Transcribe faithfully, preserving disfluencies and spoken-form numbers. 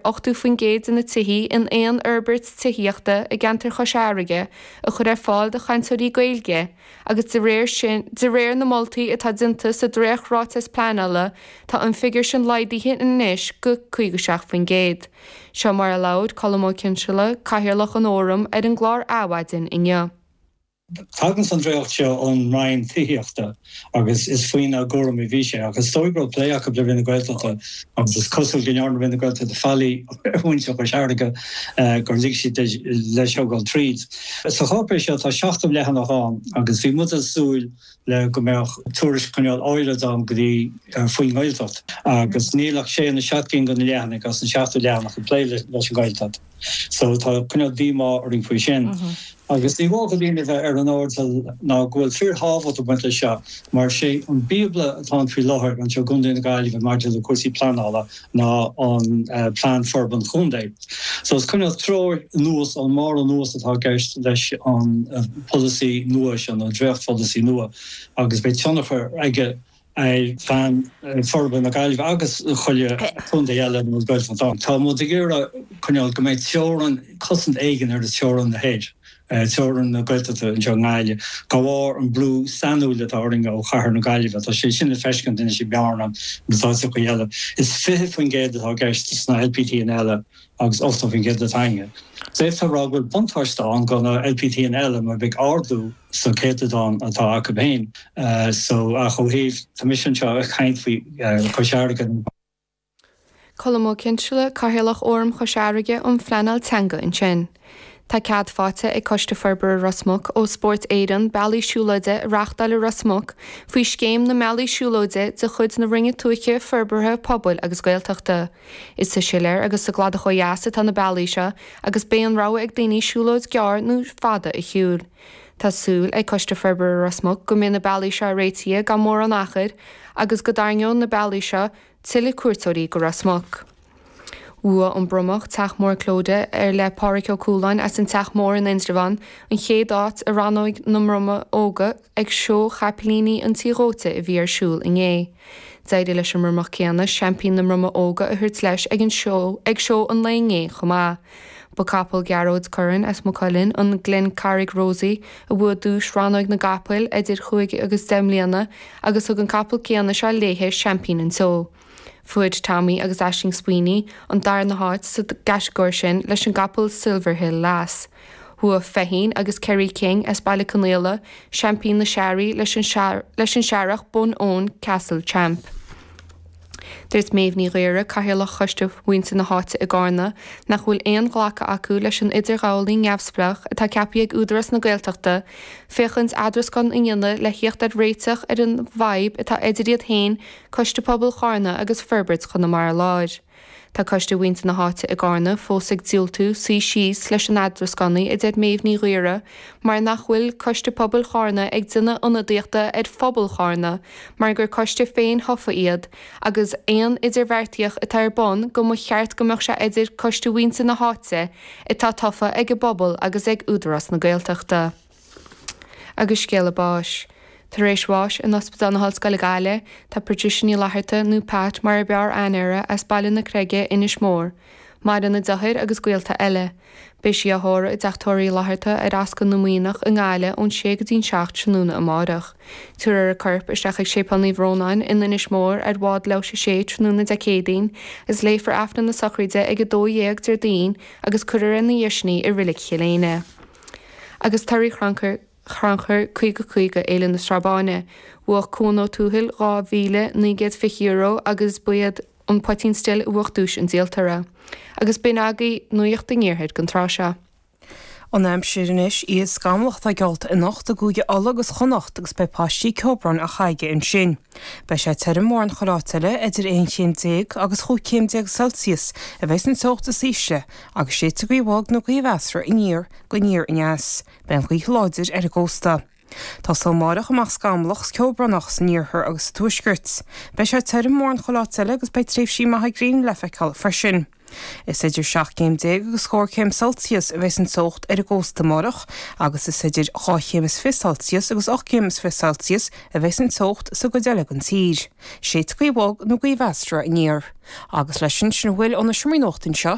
ochtó faoin gcéad de na tithe in aon fhorbairt tithíochta i gceantar Chois Fharraige a chur ar fáil do chainteoirí Gaeilge agus de réir sin de réir na moltaí atá déanta sa dréachtráiteas pleanála tá an figiúr sin laghdaithe anois go caoga seacht faoin gcéad. Seo mar a labhair Colm Ó Cinnseala, Cathaoirleach an Fhóraim ar an gclár Adhmhaidin inniu. Tagann an dréacht seo ón Roinn Tithíochta agus is faoina gcúram a bhí sé agus dóigh go plé acu le Roinn na Gaeltachta agus is cosúil go ndearna Roinn na Gaeltachta faillí ar mhuintir Chois Fharraige gur lig siad leis seo dul tríd. Sa cháipéis seo tá seachtó leathanach ann agus bhí muid ag súil le go mbeadh tuairisc cineál áirid ann go dtí faoin nGaeltacht agus níl ach sé nó seacht gcinn de na leathanaigh as an seachtó leathanach ag plé leis an Ghaeltacht. So tá cineál díomá orainn faoi sin. Agus ní mór do dhaoine bheith ar an airdeall ná go bhfuil fíorthábhacht ag baint leis seo, mar sé an Bíobla atá ann faoi láthair anseo i gContae na Gaillimhe maidir le cúrsaí pleanála ná an Plean Forbartha Contae. So is cineál treoir anuas ón mbarr anuas atá i gceist leis an polasaí nua seo, nó an dréachtpholasaí nua, agus beidh tionchar aige ar Phlean Forbartha na Gaillimhe agus chuile chontae eile ina bhfuil Gaeltacht ann. Tá muid ag iarraidh coinneáil go mbeidh teorainn, cosaint éigin ar theorainn na thoir, teorainn na Gaeltachta anseo i nGaillimh, de bharr an brú sainiúil atá orainn ó chathair na Gaillimhe. Tá sé sin le feiscint anois i mBearna agus áiteacha eile. Is fiche faoin gcéad atá i gceist sna LPTanna eile agus ochtó faoin gcéad atá againne. D'fhéadfá a rá go bhfuil buntáiste ann do na LPTanna eile mar beidh ardú sa chéatadán atá acu féin. So ach ó thaobh, tá mise anseo ag caint faoi Chois Fharraige. Colm Ó Cinnseala, Cathaoirleach Fhóram Chois Fharraige um Phleanáil Teanga ansin. Tá cead faighte ag Coiste Forbartha Ros Muc ó Spórt Éireann bealaí siúlóide a reáchtáil i Ros Muc faoi Scéim na mBealaí Siúlóide de chuid na Roinne Tuaithe, Forbartha Pobail agus Gaeltachta. Is sa Siléar agus sa gCladach ó dheas atá na bealaí seo agus beidh an rogha ag daoine siúlóid gearr nó fada a shiúl. Tá súil ag Coiste Forbartha Ros Muc go mbeidh na bealaí seo réitithe gan mórán achair agus go dtarraingeoidh na bealaí seo tuilleadh cuairteoirí go Ros Muc. Bhuaigh an Bromach Teach Mór Clodagh ar le Pádraig Ó Cualáin as an Teach Mór in Indreabhán an chéad áit i rannóg na mBromach Óga ag Seó Chapaillíní an Tí Dhóite a bhí ar siúl inné. D'éirigh leis an mBromach céanna seaimpín na mBromach Óga a thabhairt leis ag an seó ag seó an lae inné chomh maith. Ba capall Gearóid Curran as Maigh Cuilinn, an Glencarrig Rosie, a bhuaigh duais rannóg na gcapall idir chúig agus deich mbliana agus thug an capall céanna seo léithe seaimpín an tseó. Fuair Tommy agus Aisling Sweeney an darna háit sa gcatagóir sin leis an gcapall Silverhill Lass. Bhuaigh Feichín agus Kerry King as Baile Conaola seaimpín na searraí leis an leis an searrach Bun Eoin Castle Champ. Dúirt Méabh Ní Ghaora, Cathaoirleach Choiste Mhuintir na hÁite i gCarna, nach bhfuil aon ghlacadh acu leis an idirghabhálaí neamhspleách atá ceaptha ag Údarás na Gaeltachta féachaint eadrascán a dhéanamh le theacht ar réiteach ar an bhfadhb atá idir iad féin, Coiste Pobail Charna agus Forbairt Chonamara Láir. Tá Coiste Mhuintir na hÁite i gCarna fós ag diúltú suí síos leis an eadrascánaí, a deir Méabh Ní Ghaora, mar nach bhfuil Coiste Pobail Charna ag déanamh ionadaíochta ar phobal Charna mar gur coiste féin-thofa iad agus aon idirbheartaíocht atá ar bun go mba cheart go mbeadh sé idir Coiste Mhuintir na hÁite atá tofa ag an bpobal agus ag Údarás na Gaeltachta. Agus scéala báis. Tar éis bháis in Ospidéal na hOllscoile Gaillimh, tá Patricia Ní Fhlatharta, nó Pat mar ab fhearr aithne uirthi, as Baile na Creige, Inis Mór. Maireann a deartháir agus gaolta eile. Beidh sí á tórramh i dTeach Tórraimh Uí Fhlatharta ar Ascaill na Muimhneach i nGaillimh ón sé go dtí'n seacht tráthnóna amárach. Tabharfar a corp isteach ag Séipéal Naomh Rónán in Inis Mór ar bhád leathuair tar éis a sé tráthnóna Dé Céadaoin agus léifear Aifreann na sochraide ag a dó dhéag Déardaoin agus cuirfear ina dhiaidh sin í i Reilig Chill Éinne. Agus torthaí chrannchur Chrannchur caoga caoga Fhéile na Sraith Báine. Bhuaigh Cuan Ó Tuathail dhá mhíle naoi gcéad fiche euro agus ba iad An Poitín Stil a bhuaigh duais an díoltóra. Agus b'in agaibh Nuacht an Iarthair don tráth seo. An aimsir anois, oíche scamallach atá geallta anocht i gCúige Uladh agus Chonnacht agus beidh paistí ceobhráin á caitheamh ansin. Beidh sé tirim mórán chuile áit eile, idir aon chéim déag agus chúig chéim déag Celsius a bheidh san teocht is ísle agus séidfidh gaoth bhog nó gaoth mheasartha aniar go aniar aneas. Beidh an ghaoth láidir ar an gcósta. Tá sé amárach amach scamallach 's ceobhránach san iarthar agus sa tuaisceart. Beidh sé tirim mórán chuile áit eile agus beidh tréimhsí maithe gréine le feiceáil freisin. Is idir seacht gcéim déag agus scór céim Celsius a bheas an teocht ar an gcósta amárach agus is idir dhá chéim is fiche Celsius agus ocht gcéim is fiche Celsius a bheas an teocht sa gcuid eile den tír. Séidfidh gaoth bhog nó gaoth mheasartha aniar. Agus leis sin sin a bhfuil ó na seomraí nuachta anseo